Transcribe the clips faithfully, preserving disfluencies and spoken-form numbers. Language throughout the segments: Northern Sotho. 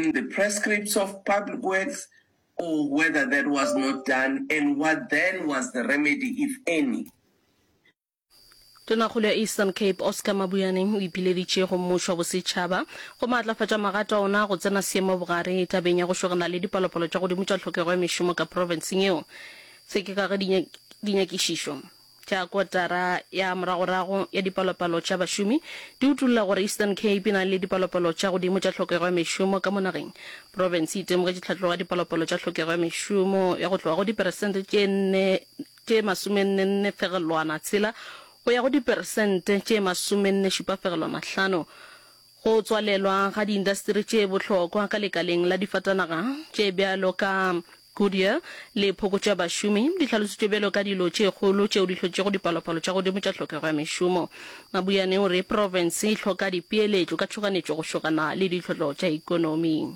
within the prescripts of public works or whether that was not done and what then was the remedy, if any. Tonakgolo ya Eastern Cape Oscar Mabuyane o ipileditše go mmušo wa bosetšhaba go maatlafatša magato a ona go tsena seemo bogare tabeng ya go šogana le dipalopalo tša godimo tša tlhokego ya mešomo ka profenseng yeo. Se ke ka ge dinyakišišo tša kotara ya moragorago ya dipalopalo tša bašomi di utolla gore Eastern Cape e na le dipalopalo tša godimo tša tlhokego ya mešomo ka mo nageng. Profense e itemogetše tlhatlogo ya dipalopalo tša tlhokego ya mešomo ya go tloga go diperesente tše nne tše masomenne-nne fegelwana tshela go ya go diperesente tše masomenne šupa fegelwana hlano. Go tswalelwa ga diindasteri tše bohlokwa ka lekaleng la difatanaga tše bjalo ka Goodyear le phokotšo ya bašomi di hlalositšwe bjalo ka dilo tše kgolo tšeo di hlotšego dipalopalo tša godimo tša tlhokego ya mešomo. Mabuyane o re profense e hloka dipeeletšo ka tšhoganetšo go šogana le ditlhotlo tša ekonomi.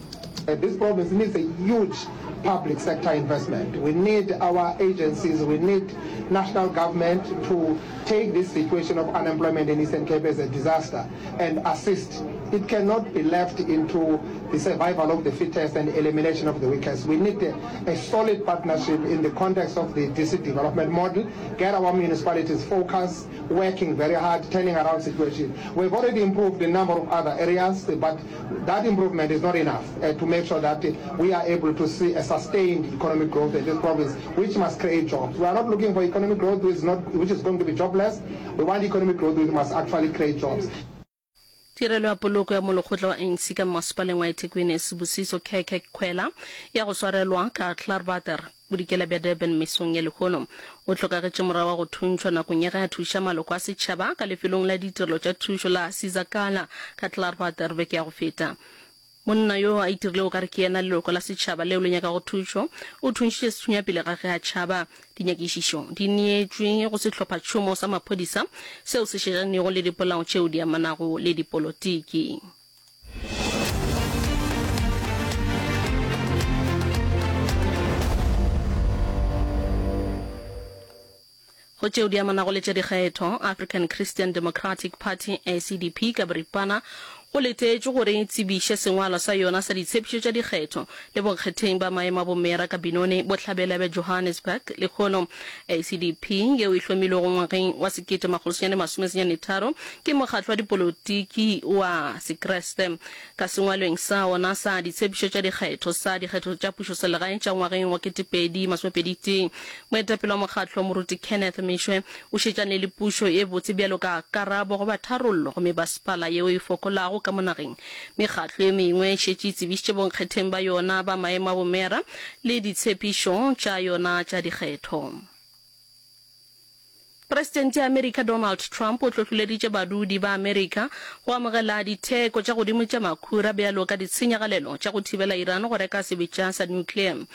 This province needs a huge public sector investment. We need our agencies, we need national government to take this situation of unemployment in Eastern Cape as a disaster and assist. It cannot be left into the survival of the fittest and elimination of the weakest. We need a, a solid partnership in the context of the district development model, get our municipalities focused, working very hard, turning around situation. We've already improved a number of other areas, but that improvement is not enough uh, to make sure that we are able to see a sustained economic growth in this province, which must create jobs. We are not looking for economic growth which is, not, which is going to be jobless. We want economic growth which must actually create jobs. Tirelo ya poloko ya molekgotla wa A N C ka mmasepaleng wa eThekwini Sibusiso Khekhe Khwela ya go swarelwa ka Klaarwater bodikela bja Durban mesong ya lehono. O hlokagetše morago ga go thuntšhwa nakong ya ge a thuša maloko a setšhaba ka lefelong la ditirelo tša thušo la Sizakala ka Klaarwater beke ya go feta. Monna yo a itirilego o ka re ke yena leloko la setšhaba leo le nyakago thušo o thuntšhitše sethunya pele ga ge a tšhaba. Dinyakišišo di neetšwe go sehlophatšhomo sa maphodisa seo se šetšanego le dipolao tšeo di amanago le dipolotiki. Go tšeo di amanago le tša dikgetho, African Christian Democratic Party, A C D P, ka boripana, go letetšwe gore e tsebiše sengwalwa sa yona sa ditshepišo tša dikgetho le bonkgetheng ba maemo a bomeyara ka Benoni, bohlabela bja Johannesburg, lehono. A C D P, yeo e hlomilwego ngwageng wa sekete makgolo senyane masome senyane tharo ke mokgatlo wa dipolotiki wa Sekriste. Ka sengwalweng sa ona sa ditshepišo tša dikgetho sa dikgetho tša pušoselegae tša ngwageng wa ketepedi masomepedi tee, moetapele wa mokgatlo Moruti Kenneth Meshoe o šetšane le pušo ye botse bjalo ka karabo goba tharollo go mebasepala yeo e fokolago ka mo nageng. Mekgatlo ye mengwe e šetše e tsebišitše bonkgetheng ba yona ba maemo a bomeyara le ditshepišo tša yona tša dikgetho. Presidente ya Amerika Donald Trump o hlohloleditše badudi ba Amerika go amogela ditheko tša godimo tša makhura bjalo ka ditshenyagalelo tša go thibela Iran go reka sebetša sa nuclear.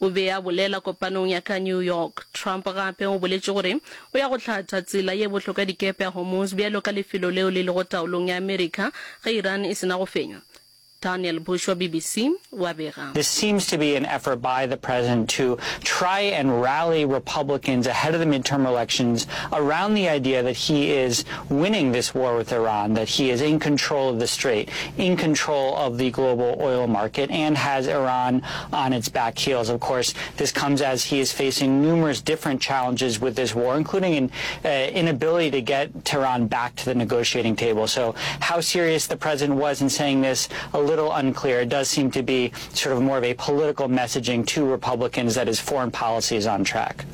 O be a bolela kopanong ya ka New York. Trump gape o boletše gore o ya go hlatha tsela ye bohlokwa ya dikepe ya Hormuz bjalo ka lefelo leo le lego taolong ya Amerika ge Iran e se na go fenywa. Daniel Bush wa B B C wa bega. This seems to be an effort by the president to try and rally Republicans ahead of the midterm elections around the idea that he is winning this war with Iran, that he is in control of the strait, in control of the global oil market, and has Iran on its back heels. Of course, this comes as he is facing numerous different challenges with this war, including an uh, inability to get Tehran back to the negotiating table. So how serious the president was in saying this, a little unclear. It does seem to be sort of more of a political messaging to Republicans that his foreign policy is on track.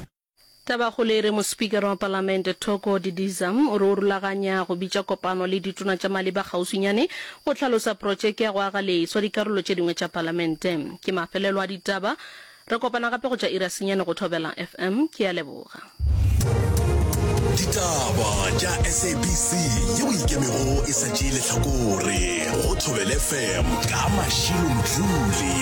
Tabakgolo e re mospikara wa palamente Thoko Didiza o re o rulaganya go bitša kopano le ditona tša maleba kgauswinyane go hlalosa protšeke ya go aga leswa dikarolo tše dingwe tša palamente. Ke mafelelo a ditaba. Re kopana gape go tša iri ya senyane go Thobela F M. Ke a leboga. Ditaba tša S A B C yeo ikemego e sa tšee lehlakore go Thobela F M ka Mashilo Mdluli.